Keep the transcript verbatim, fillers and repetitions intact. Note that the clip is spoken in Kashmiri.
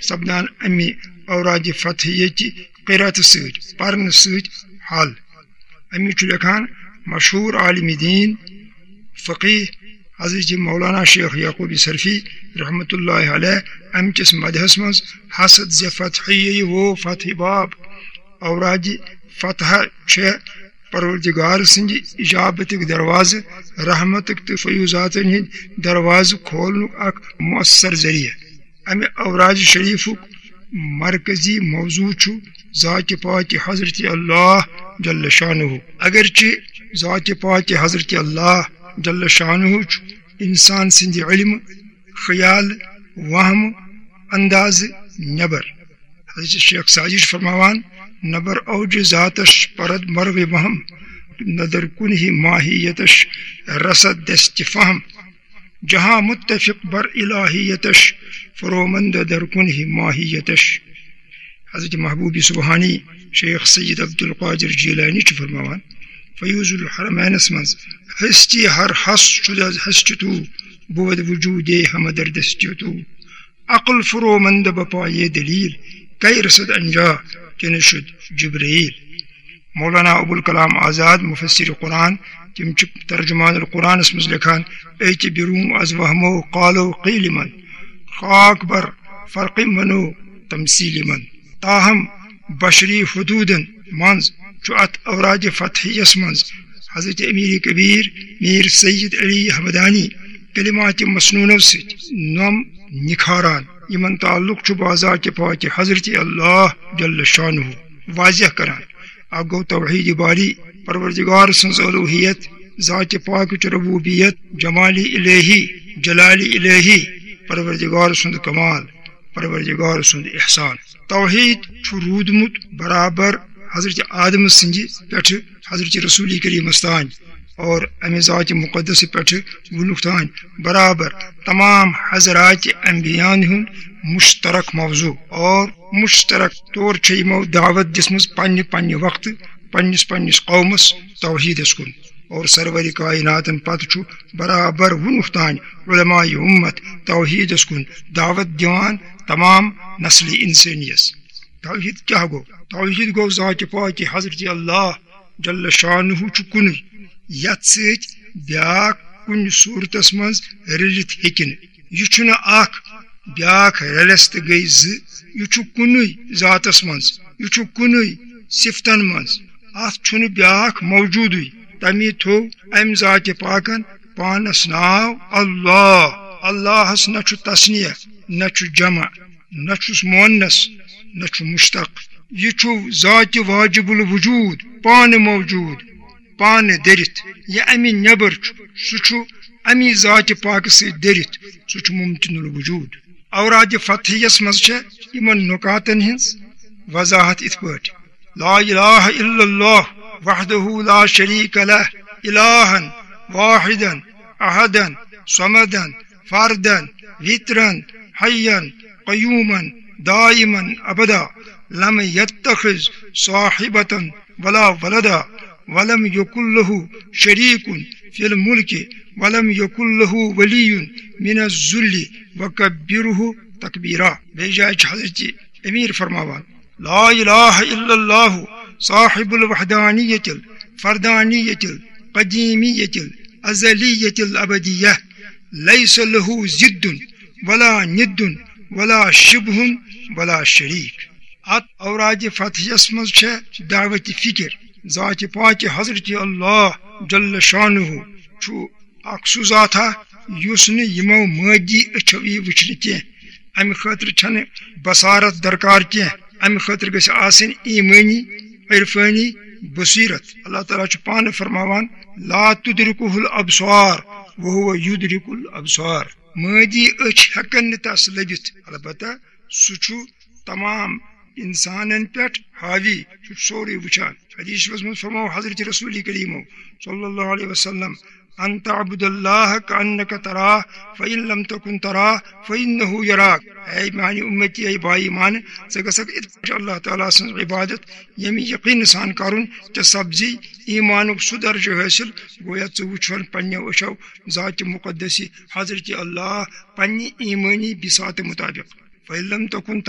سپدان اَمہِ اورادِ فتحیہ چہِ قراتہٕ سۭتۍ، پرنہٕ سۭتۍ حل۔ اَمہِ چھُ لیکھان مشہوٗر عالمِ دیٖن، فقیٖح حضرت مولانا شیخ یعقوب صرفی رحمتہ اللہ علیہ، اَمہِ کِس مدحس منٛز، حسد ز فتحیہ و فتح باب، اورادِ فتحہ چھےٚ پروردگار سٕنٛدِ اجابتٕکۍ دروازٕ، رحمتٕکۍ تہٕ فیوضاتن ہٕنٛدۍ دروازٕ کھولنُک اکھ مؤثر ذٔریعہٕ۔ اَمہِ اورادِ شریفُک مرکزی موضوع چھُ ذاتِ پاکِ حضرت اللہ جل شانہ۔ اگرچہ ذاتِ پاکِ حضرت اللہ جل شانہ چھُ انسان سٕنٛدِ علم، خیال، وہم، اندازٕ نٮ۪بر۔ حضرت شیخ سعدی چھُ فرماوان، نبر اوج ذاتش پرد مرغ وہم، ندر کنہ ماہیتش رسد دست فہم۔ جہاں متفق بر الہیتش، فرومند در کنہ ماہیتش۔ حضرت محبوب سبحانی شیخ سید عبدالقادر جیلانی چھُ فرماوان فیوض الحرمینس منٛز، ہستی ہر ہس شد از ہستی تو، بود وجود ہمہ در دستی تو۔ عقل فرومند بپایے دلیل، کئی رسد انجا چنہ شد جبرائیل۔ مولانا ابوالکلام آزاد، مفسر قرآن، تِم چھِ ترجمان القرآنس منٛز لیکھان، أتۍ برونٛہہ از وہمو قالو قیل من، خاک بر فرق منو تمثیل من۔ تاہم بشری حدودن منٛز چھُ اتھ اورادِ فتحیس منٛز حضرت امیر کبیر میر سید علی ہمدانی کلمات مسنونو سۭتۍ نۄم نکھاران، یِمن تعلق چھُ بذاتِ پاکِ حضرت اللہ جل شانہ واضح کران۔ اکھ گوٚو توحید باری، پروردگار سٕنٛز الوہیت، ذاتِ پاکٕچ ربوبیت، جمالِ الہی، جلالِ الہی، پروردگار سُنٛد کمال، پروردگار سُنٛد احسان۔ توحید چھُ روٗدمُت برابر حضرت آدم سٕنٛدِ پٮ۪ٹھٕ حضرت رسول کریمس تام اور امہِ ذاتِ مقدس پٮ۪ٹھٕ وُنیُک تام برابر تمام حضرات انبیاءن ہُنٛد مشترک موضوع، اور مشترک طور چھِ یِمو دعوت دِژمٕژ پننہِ پننہِ وقتہٕ پننِس پننِس قومس توحیدس کُن۔ اور سرور کائناتن پتہٕ چھُ برابر وُنیُک تام علماء امت توحیدس کُن دعوت دِوان تمام نسلِ انسٲنیس۔ توحید کیٛاہ گوٚو؟ توحید گوٚو ذاتِ پاکِ حضرت اللہ جل شانہ چھُ کُنُے، یتھ سۭتۍ بیاکھ کُنہِ صورتس منٛز رٔلِتھ ہیٚکہِ نہٕ۔ یہِ چھُنہٕ اکھ، بیاکھ رلٮ۪س تہٕ گٔے زٕ۔ یہِ چھُ کُنُے ذاتس منٛز، یہِ چھُ کُنُے صفتن منٛز۔ اتھ چھُنہٕ بیاکھ موجودٕے۔ تمی تھوٚو امہِ ذاتِ پاکن پانس ناو اللہ۔ اللہس نہ چھُ تثنیہ، نہ چھُ جمع، نہ چھُس مؤنث، نہ چھُ مشتق۔ یہِ چھُ ذاتِ واجب الوجود، پانہٕ موجود، پانہٕ دٔرِتھ۔ یہِ امہِ نٮ۪بر چھُ، سُہ چھُ امی ذاتِ پاکہٕ سۭتۍ دٔرِتھ، سُہ چھُ ممکن الوجود۔ اورادِ فتحیس منٛز چھےٚ یِمن نکاتن ہٕنٛز وضاحت یِتھ پٲٹھۍ، لا الہ الا اللہ وحدہ لا شریک لہ، الہا واحدا احدا صمدا فردا وترا حیا قیوما دائما ابدا، لم یتخذ صاحبة ولا ولدا، ولم یکن لہ شریک فی الملک، ولم یکن لہ ولی من الذل، وکبرہ تکبیرا۔ بیٚیہِ جایہِ چھِ حضرت امیر فرماوان، لا الہ الا اللہ صاحب الوحدانیت الفردانیت القدیمیت الازلیت الابدیہ، لیس لہ ضد ولا ند ولا شبہ ولا شریک۔ اتھ اورادِ فتحیس منٛز چھےٚ دعوتِ فکر، ذاتِ پاکِ حضرت اللہ جل شانہ چھُ اکھ سُہ ذات ہا یُس نہٕ یِمو مٲدی أچھو یی وٕچھنہٕ کینٛہہ۔ امہِ خٲطرٕ چھنہٕ بصارت درکار کینٛہہ، امہِ خٲطرٕ گژھِ آسٕنۍ ایمٲنی، عرفٲنی بصیرت۔ اللہ تعالیٰ چھُ پانہٕ فرماوان، لا تدرکہ الابصار وہو یدرک الابصار۔ مٲدی أچھ ہٮ۪کن نہٕ تس لٔبِتھ، البتہ سُہ چھُ تمام انسانن پٮ۪ٹھ حاوی، سُہ چھُ سورُے وٕچھان۔ حدیث شریفس منٛز فرموو حضرت رسول کریمو صلی اللہ علیہ وسلم، ان تعبد اللہ کانک تراہ، فان لم تکن تراہ فانہ یراک۔ اے میانہِ امتی، اے با ایمان، ژٕ گژھکھ اِتھ پٲٹھۍ اللہ تعالیٰ سٕنٛز عبادت، ییٚمہِ یقین سان کرُن ژےٚ سپزی ایمانُک سُہ درجہٕ حٲصِل، گویا ژٕ وٕچھون پننیو أچھو ذاتِ مقدس حضرت اللہ پننہِ ایمٲنی بساطہٕ مطابق۔ فان لم تکن